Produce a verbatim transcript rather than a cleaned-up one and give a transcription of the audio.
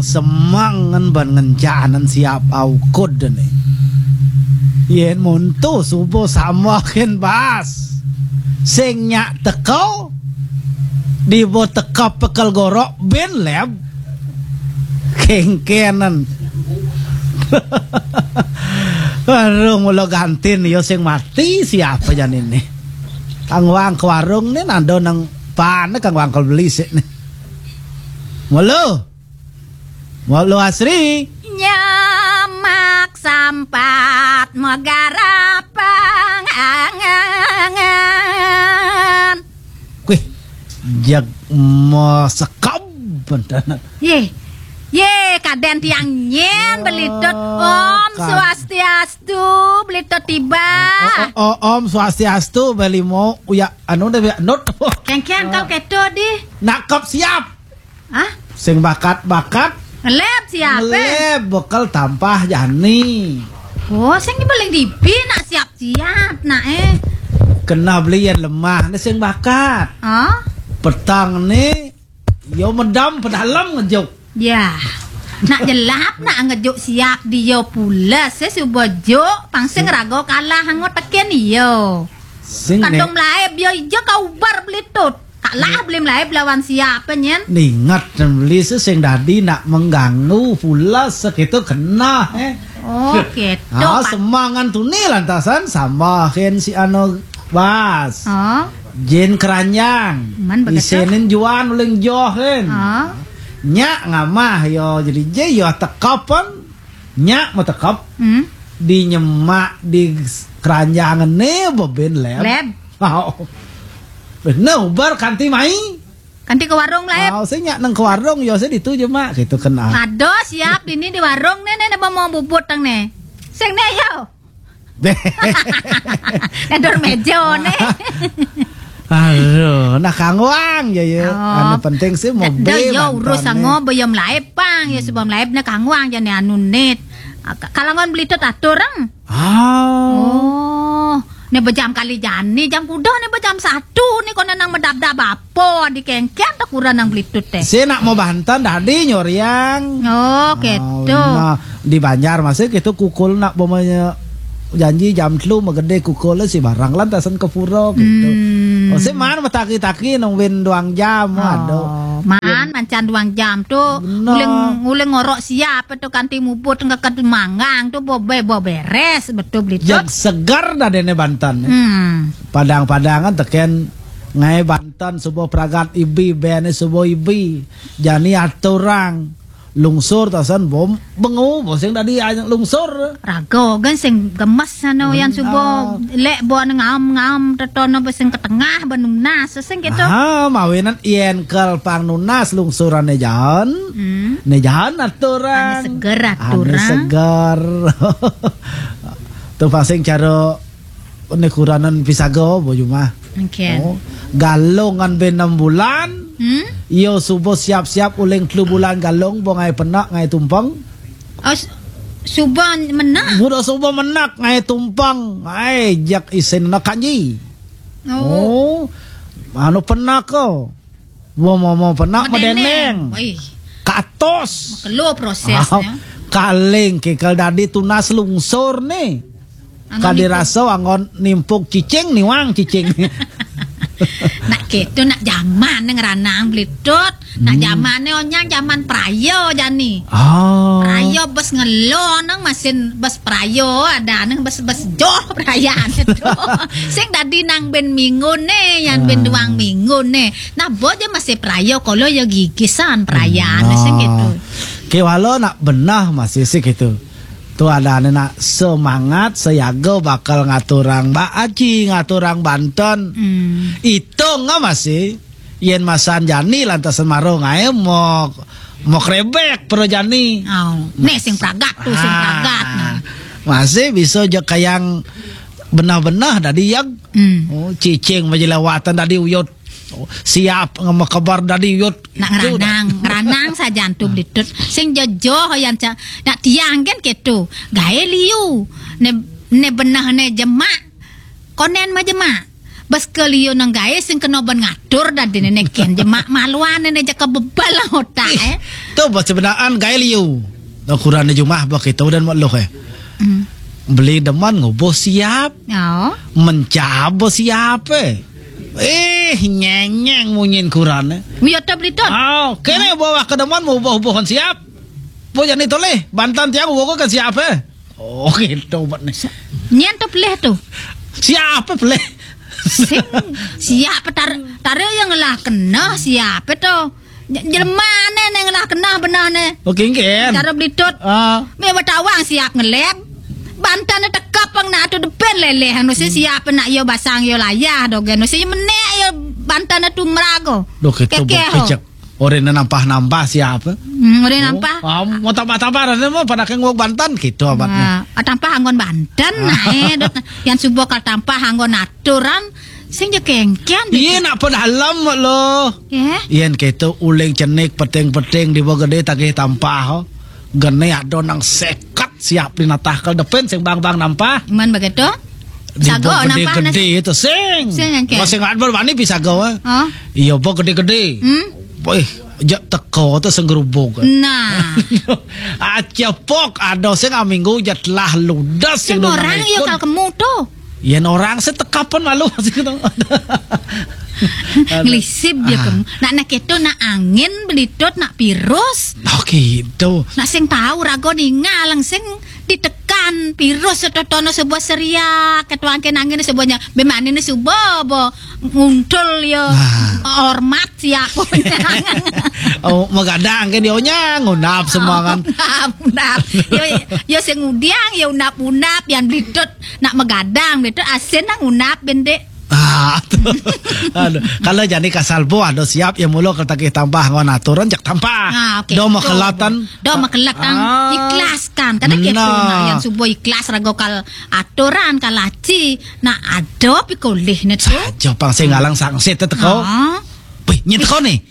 Semengan ban ngencanan siap aukud ne. Yen monto suba samahin bas. Sing nyak teka, dibo teka pekel gorok bin leb. Kengkenen. Warung mula gantin ya sing mati siapa jan ini. Kang Wang ke warung ni nando nang pan Kang Wang ke beli sik ni. Mula. Mula Asri. Nyamak sampat megarapang angan. Kuih, jag masekab bentana. Ye. Ye, kaden tiang nyen belitut. Om Swastiastu, belitut tiba. Oh, oh, oh, Om Swastiastu, beli mau uya anu deh uya nut. Kengkeng kau keto di. Nakap siap. Hah? Sing bakat-bakat. Ngeleb siap, eh? Ngeleb, bekel tampah jani. Oh, sing paling dipi nak siap-siap, nak, eh. Kena beli yang lemah, ni sing bakat. Oh? Petang ni, yo medam pedalem ngejuk. Ya. Nak jelap, nak ngejuk siap dia pula, sesuba juk, pang sing rago kalah angot teken iyo. Sing kadung melaib, yo ija kau ubar belitut. Kalah beli melaib lawan siapa nyen? Ningat dan beli sesing dadi nak mengganggu pula sekitu kena, eh. Oh, gitu. Ah, semangan tuni lantasan sambahin si ano bas. Oh. Jin keranjang. Man begitu. Isenin juan uling johin. Oh. Nyak ngamah yo jadi je yo tekapan. Nyak mau tekap. Hmm. Di nyemak di keranjang ne bebin leb. Leb. Oh. Bener ubar kanti mai. Kanti ke warung lah, Ep. Ah, saya nyak nang ke warung, yo saya ditu je mak, gitu kena. Aduh, siap ini di warung nih, nih, nih, mau bubut tang nih. Sing nih, yo. Deh. Ngedur meja nih. Aduh, nah kangwang ya ya. Oh. Anu penting sih mau be yo urus mantan sango nih. Be yo melaib pang, ya sebab melaib nah kangwang jane anu nit. Ah, ka-, kalangan beli tu tatur ang. Ah. Oh, ne bejam kali jani, jam kuda ne bejam satu ni kau nang medap-dap apa di kengkeng tak kurang nang belitut teh. Si nak mau bantan dadi nyoriang. Oh, gitu. Nah, di Banjar masih gitu kukul nak bomanya janji jam telu megede kukul si barang lantasan ke pura gitu. Hmm. Oh, si mana metaki-taki nungguin duang jam, oh, aduh. Man mancan duang jam tu. Bener. Uling, uling ngorok siap tu kanti mubut ngeket manggang tu bobe boberes betul beli tu. Yang segar dah dene bantan. Hmm. Padang-padangan teken ngai bantan sebuah pragat ibi bene sebuah ibi. Jani aturang lungsur tasan bom bengu boseng tadi ayang lungsur. Rago kan sing gemes sana yang subo lek bo ngam-ngam tetono sing ke tengah benunas sing gitu. Ah, mawinan yen kel pang nunas lungsuran ne jahan. Hmm. Ne jahan aturang. Ane seger aturang. Ane seger. Tu pasing cara ne kuranan pisaga bo jumah. Okay. Oh, galung ngan be enam bulan. Hmm? Yo subuh siap-siap uling telu bulan galung bo ngai penak ngai tumpang. Oh, s-, subuh menak. Budak subuh menak ngai tumpang. Ngai jak isin nak kanji. Oh. Oh. Anu penak ko. Wo mo mo penak medeneng. Medeneng. Oi. Katos. Makelo prosesnya. Ah, kaling kikal dadi tunas lungsur ni. Anggon kadi nimpuk. Rasa anggon nimpuk cicing niwang cicing. Nak gitu nak zaman ne ngeranang belitut. Nak zaman ne onyang zaman prayo jani. Oh. Prayo bes ngelo nang masin bes prayo ada nang bes bes joh perayaan itu. Sing dadi nang ben minggu ne, yang ben duang minggu ne. Nah, bo je masih prayo kolo ya gigisan perayaan sing gitu. Ke walo nak benah masih sih gitu. Tu ada ane nak semangat, seyaga bakal ngaturang Mbak Aji, ngaturang Banten. Hmm. Itu nggak masih. Yen masan jani lantas semaro ngae mo mo krebek pro jani. Oh, ne sing pragat tu, sing pragat. Ah, masih bisa je kayang benah-benah dadi yang. Hmm. Oh, cicing majelawatan dadi uyut. Oh, siap ngemekebar dadi uyut. Nak ngeranang, ngeranang sajan tu belitut. Sing jojo yang ca-, nak tiang kan ketu. Gae liu. Ne, ne benah ne jemak. Konen ma jemak. Bas ke liu nang gaé sing kena ban ngatur dadi ne ken je mak maluan ne jaka bebal otak eh. Tu bas sebenarnya gaé liu. Nah, kurang jumah ba kita dan mak loh eh. Hmm. Beli deman ngubuh siap. Oh. Mencab siap eh. Eh, nyenyeng munyin kurang eh. Mio to beli to. Oh, kene bawa ke deman mau buh-buhan siap. Bo jani toleh, bantan tiang uwo ke siap eh. Oh, gitu bat ni. Nyen tu pelih tu. Siap eh pelih. Sing siap tar tarik yang ngelah kena siap eh tu. Jelema ne ne ngelah kena benah ne. Okey, engken. Cara belitut. Ah. Me batawang siap ngelep. Bantan ne tekap pang nak tu depan leleh anu si siap nak yo basang yo layah dogen. Si menek yo bantan ne tu merago. Dok itu bok pijak. Orang ne nampah-nampah siap. Hmm, orang nampah. Ah, mau tambah-tambah rasanya mau pada kengok bantan gitu abatnya. Ah, tampah anggon bantan nah eh. Yang subuh kal tampah anggon aturan sing je kengken. Iya nak pedalam lo. Ya. Yen keto uling cenik peting-peting di gede tagih tampah. Gene ado nang seket siap di natah kal depan sing bang-bang nampah. Man begitu? Di sago nampah gede itu sing. Sing engke. Masih ngat berwani bisa gawa. Oh. Iya bo gede-gede. Hmm? Boy, jak teko tu sing gerubuk. Nah. Acepok ado sing minggu je telah ludes sing orang yo kal kemu tu. Yen orang sih tekapan malu masih ketemu. Ngelisip dia ah. Nak nak itu nak angin belitut nak virus. Oh gitu. Nak sing tahu rago ningal sing ditekan virus setotono sebuah seriak ketuangke nangin sebuahnya bemane ni subo bo nguntul yo nah. Hormat siap oh megadang ke dia nya ngunap semua kan ngunap ngunap yo yo sing udiang yo unap unap yang belitut nak megadang belitut asin nang unap bendek Ah, aduh. Kalau jadi kasal bo ado siap ya mulo kalau tagih tambah ngon aturan jak tambah. Ah, okay. Do makelatan. Do makelatan ah. Ikhlaskan. Kadang gitu nah yang subuh ikhlas rago kal aturan kal laci. Nah, ado pikolih ne tu. Saja pang sing ngalang sangsit teko. Ah. Wih, nyet teko ni.